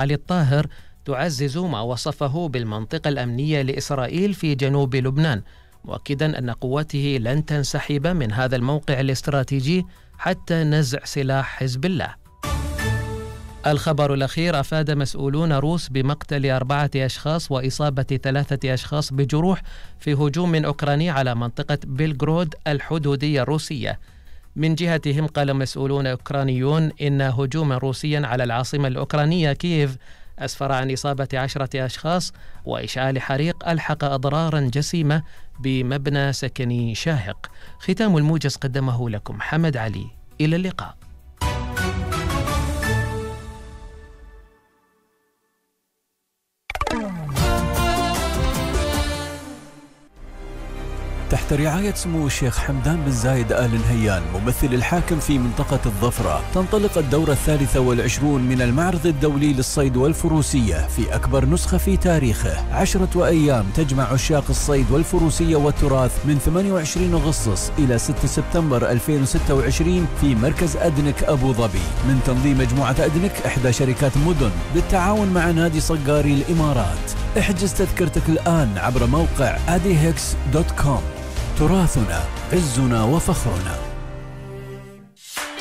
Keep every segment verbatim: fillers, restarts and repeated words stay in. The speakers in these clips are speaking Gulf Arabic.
علي الطاهر تعزز ما وصفه بالمنطقة الأمنية لإسرائيل في جنوب لبنان، مؤكدا أن قوته لن تنسحب من هذا الموقع الاستراتيجي حتى نزع سلاح حزب الله. الخبر الأخير: أفاد مسؤولون روس بمقتل أربعة أشخاص وإصابة ثلاثة أشخاص بجروح في هجوم أوكراني على منطقة بيلغرود الحدودية الروسية. من جهتهم قال مسؤولون أوكرانيون إن هجوما روسيا على العاصمة الأوكرانية كييف أسفر عن إصابة عشرة أشخاص وإشعال حريق ألحق أضرارا جسيمة بمبنى سكني شاهق. ختام الموجز قدمه لكم حمد علي. إلى اللقاء. تحت رعاية سمو الشيخ حمدان بن زايد آل نهيان ممثل الحاكم في منطقة الظفرة، تنطلق الدورة الثالثة والعشرون من المعرض الدولي للصيد والفروسية في أكبر نسخة في تاريخه. عشرة أيام تجمع عشاق الصيد والفروسية والتراث من ثمانية وعشرين أغسطس إلى ستة سبتمبر ألفين وستة وعشرين في مركز أدنك أبو ظبي، من تنظيم مجموعة أدنك إحدى شركات مدن بالتعاون مع نادي صقاري الإمارات. احجز تذكرتك الآن عبر موقع أديهكس دوت كوم. تراثنا عزنا وفخرنا.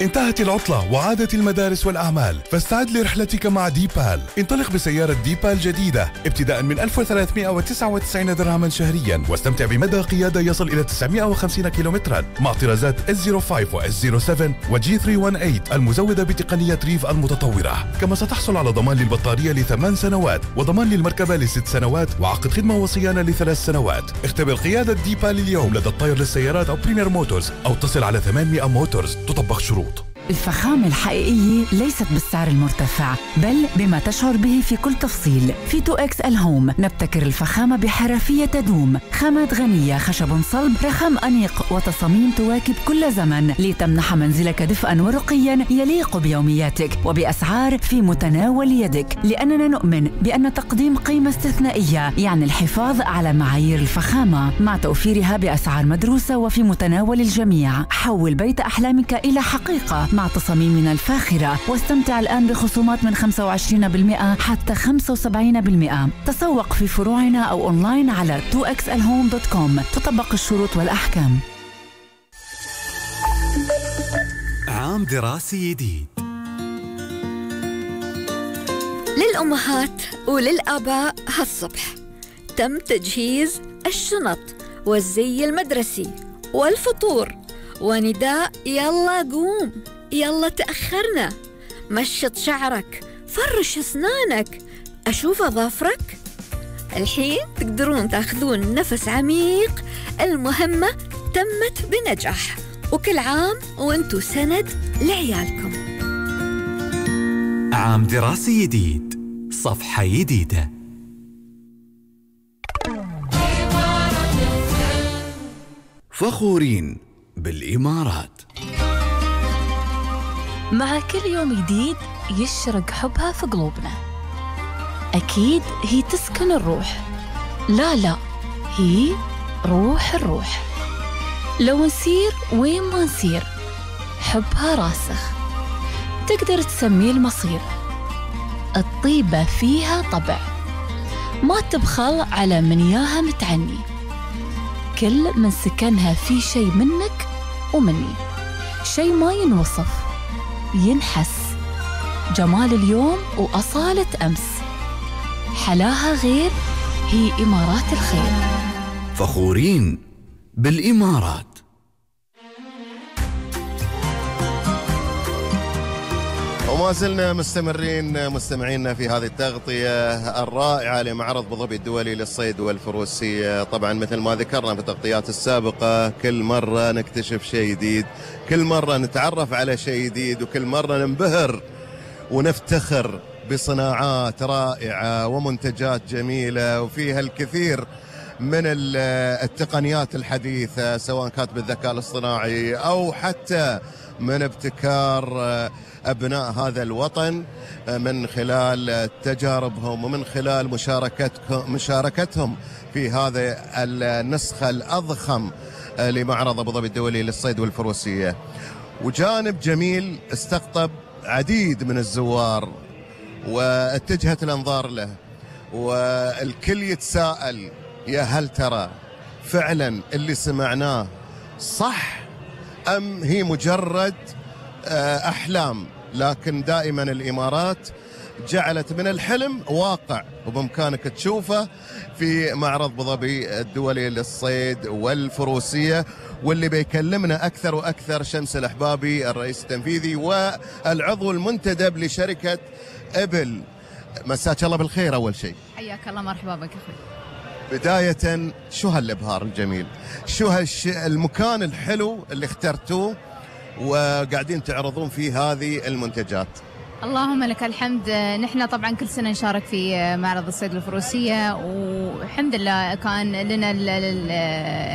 انتهت العطلة وعادت المدارس والأعمال، فاستعد لرحلتك مع ديبال. انطلق بسيارة ديبال جديدة ابتداء من ألف وثلاثمئة وتسعة وتسعين درهما شهريا، واستمتع بمدى قيادة يصل إلى تسعمئة وخمسين كيلومترا مع طرازات إس صفر خمسة و إس صفر سبعة وجي ثلاثمئة وثمانية وثمانين المزودة بتقنية ريف المتطورة. كما ستحصل على ضمان للبطارية لثمان سنوات وضمان للمركبة لست سنوات وعقد خدمة وصيانة لثلاث سنوات. اختبر قيادة ديبال اليوم لدى الطير للسيارات أو بريمير موتورز أو اتصل على ثمانمئة موتورز. تطبق شروط. الفخامة الحقيقية ليست بالسعر المرتفع بل بما تشعر به في كل تفصيل. في تو إكس إل هوم نبتكر الفخامة بحرفية تدوم، خامات غنية، خشب صلب، رخام أنيق وتصاميم تواكب كل زمن لتمنح منزلك دفئا ورقيا يليق بيومياتك وبأسعار في متناول يدك، لأننا نؤمن بأن تقديم قيمة استثنائية يعني الحفاظ على معايير الفخامة مع توفيرها بأسعار مدروسة وفي متناول الجميع. حول بيت أحلامك إلى حقيقة مع تصاميمنا الفاخرة، واستمتع الآن بخصومات من خمسة وعشرين بالمئة حتى خمسة وسبعين بالمئة. تسوق في فروعنا أو أونلاين على تو إكس إل هوم دوت كوم. تطبق الشروط والأحكام. عام دراسي جديد. للأمهات وللآباء هالصبح تم تجهيز الشنط والزي المدرسي والفطور ونداء يلا قوم، يلا تأخرنا، مشط شعرك، فرش أسنانك، أشوف أظافرك. الحين تقدرون تأخذون نفس عميق، المهمة تمت بنجاح، وكل عام وانتو سند لعيالكم. عام دراسي جديد، صفحة جديدة. فخورين بالإمارات. مع كل يوم جديد يشرق حبها في قلوبنا. أكيد هي تسكن الروح، لا لا هي روح الروح. لو نسير وين ما نسير حبها راسخ، تقدر تسميه المصير. الطيبة فيها طبع، ما تبخل على من ياها متعني. كل من سكنها في شيء منك ومني، شيء ما ينوصف، ينحس. جمال اليوم وأصالة أمس، حلاها غير، هي إمارات الخير. فخورين بالإمارات. وما زلنا مستمرين مستمعينا في هذه التغطية الرائعة لمعرض أبو ظبي الدولي للصيد والفروسية. طبعا مثل ما ذكرنا في التغطيات السابقة، كل مرة نكتشف شيء جديد، كل مرة نتعرف على شيء جديد، وكل مرة ننبهر ونفتخر بصناعات رائعة ومنتجات جميلة وفيها الكثير من التقنيات الحديثة، سواء كانت بالذكاء الاصطناعي أو حتى من ابتكار أبناء هذا الوطن من خلال تجاربهم ومن خلال مشاركتهم مشاركتهم في هذه النسخة الأضخم لمعرض أبو ظبي الدولي للصيد والفروسية. وجانب جميل استقطب عديد من الزوار واتجهت الأنظار له، والكل يتساءل يا هل ترى فعلا اللي سمعناه صح أم هي مجرد أحلام؟ لكن دائما الإمارات جعلت من الحلم واقع، وبإمكانك تشوفه في معرض أبو ظبي الدولي للصيد والفروسية. واللي بيكلمنا أكثر وأكثر شمس الأحبابي، الرئيس التنفيذي والعضو المنتدب لشركة إبل. مساك الله بالخير. أول شيء حياك الله، مرحبا بك أخوي. بداية شو هالإبهار الجميل، شو هالش المكان الحلو اللي اخترتوه وقاعدين تعرضون فيه هذه المنتجات؟ اللهم لك الحمد. نحن طبعا كل سنة نشارك في معرض الصيد والفروسية، والحمد لله كان لنا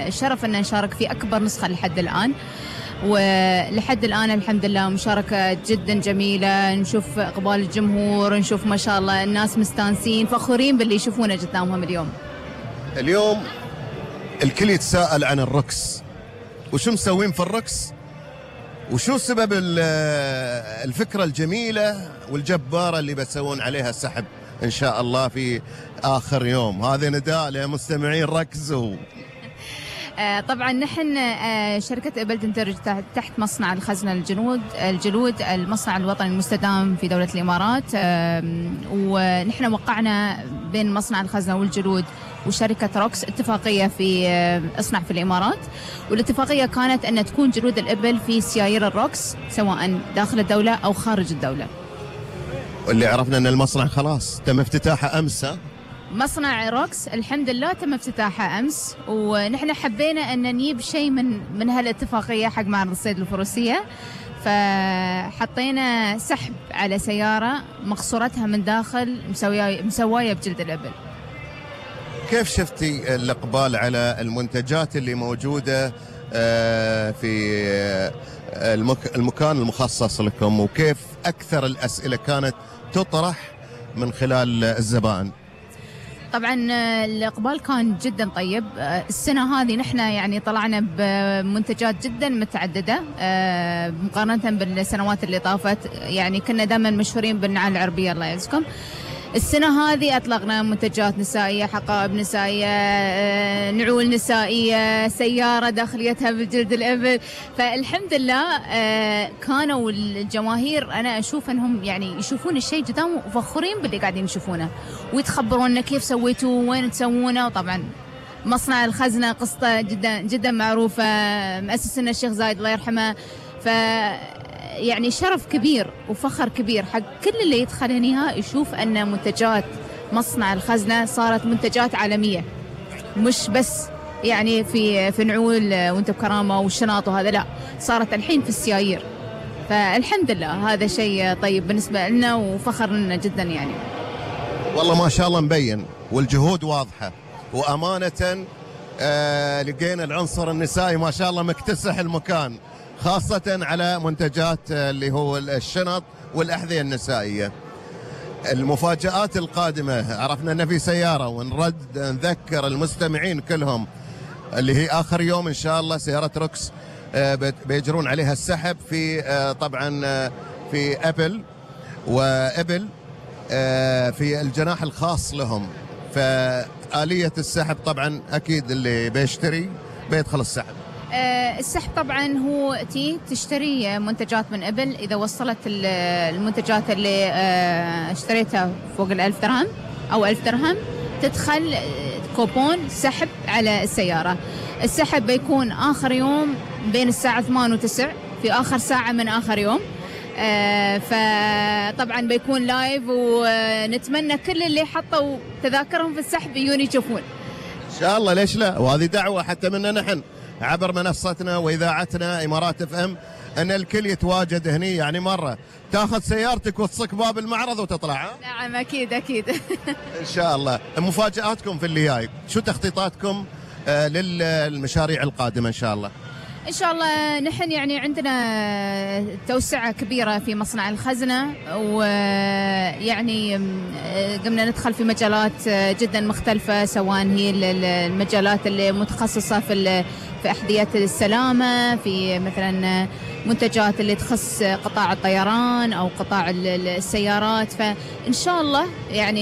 الشرف أن نشارك في أكبر نسخة لحد الآن، ولحد الآن الحمد لله مشاركة جدا جميلة. نشوف إقبال الجمهور، نشوف ما شاء الله الناس مستانسين فخورين باللي يشوفونه قدامهم اليوم. اليوم الكل يتساءل عن الركس، وشو مسوين في الركس، وشو سبب الفكرة الجميلة والجبارة اللي بتسوون عليها سحب إن شاء الله في آخر يوم. هذا نداء لمستمعين ركزوا. طبعا نحن شركة إبل تندرج تحت مصنع الخزنة الجلود الجلود المصنع الوطني المستدام في دولة الإمارات، ونحن وقعنا بين مصنع الخزنة والجلود وشركة روكس اتفاقية في اصنع في الإمارات، والاتفاقية كانت أن تكون جلود الإبل في سيايير الروكس سواء داخل الدولة أو خارج الدولة. واللي عرفنا أن المصنع خلاص تم افتتاحه أمس. مصنع روكس الحمد لله تم افتتاحه أمس، ونحن حبينا أن نجيب شيء من من هالاتفاقية حق معرض الصيد الفروسية، فحطينا سحب على سيارة مقصورتها من داخل مسوية مسواية بجلد الإبل. كيف شفتي الإقبال على المنتجات اللي موجودة في المكان المخصص لكم، وكيف أكثر الأسئلة كانت تطرح من خلال الزبائن؟ طبعا الإقبال كان جدا طيب. السنة هذه نحن يعني طلعنا بمنتجات جدا متعددة مقارنة بالسنوات اللي طافت، يعني كنا دائما مشهورين بالنعال العربية الله يعزكم. السنة هذه أطلقنا منتجات نسائية، حقائب نسائية، نعول نسائية، سيارة داخليتها بالجلد الإبل. فالحمد لله كانوا الجماهير أنا أشوف أنهم يعني يشوفون الشيء قدامهم وفخورين باللي قاعدين يشوفونه، ويتخبرون كيف سويتوا وين تسوونه. وطبعا مصنع الخزنة قصته جدا جدا معروفة، مؤسسنا الشيخ زايد الله يرحمه، ف يعني شرف كبير وفخر كبير حق كل اللي يدخل هنا يشوف أن منتجات مصنع الخزنة صارت منتجات عالمية، مش بس يعني في في نعول وانت بكرامة والشناط وهذا، لا صارت الحين في السيايير. فالحمد لله هذا شيء طيب بالنسبة لنا وفخر لنا جدا يعني. والله ما شاء الله مبين والجهود واضحة، وأمانة آه لقينا العنصر النسائي ما شاء الله مكتسح المكان، خاصة على منتجات اللي هو الشنط والأحذية النسائية. المفاجآت القادمة، عرفنا أن في سيارة، ونرد نذكر المستمعين كلهم اللي هي آخر يوم إن شاء الله سيارة روكس بيجرون عليها السحب في طبعا في أبل وإبل في الجناح الخاص لهم. فآلية السحب طبعا أكيد اللي بيشتري بيدخل السحب. السحب طبعا هو تي تشتري منتجات من إبل، إذا وصلت المنتجات اللي اشتريتها فوق الألف درهم أو ألف درهم تدخل كوبون سحب على السيارة. السحب بيكون آخر يوم بين الساعة ثمانية وتسع، في آخر ساعة من آخر يوم. فطبعا بيكون لايف، ونتمنى كل اللي حطوا تذاكرهم في السحب يجون يشوفون إن شاء الله. ليش لا؟ وهذه دعوة حتى منا نحن عبر منصتنا وإذاعتنا إمارات اف ام أن الكل يتواجد هني، يعني مرة تاخذ سيارتك وتصك باب المعرض وتطلع. نعم أكيد أكيد. إن شاء الله. مفاجآتكم في اللي جاي، شو تخطيطاتكم آه للمشاريع القادمة إن شاء الله؟ إن شاء الله. نحن يعني عندنا توسعة كبيرة في مصنع الخزنة، ويعني قمنا ندخل في مجالات جدا مختلفة، سواء هي المجالات اللي متخصصة في في أحذية السلامة، في مثلا منتجات اللي تخص قطاع الطيران أو قطاع السيارات. فإن شاء الله يعني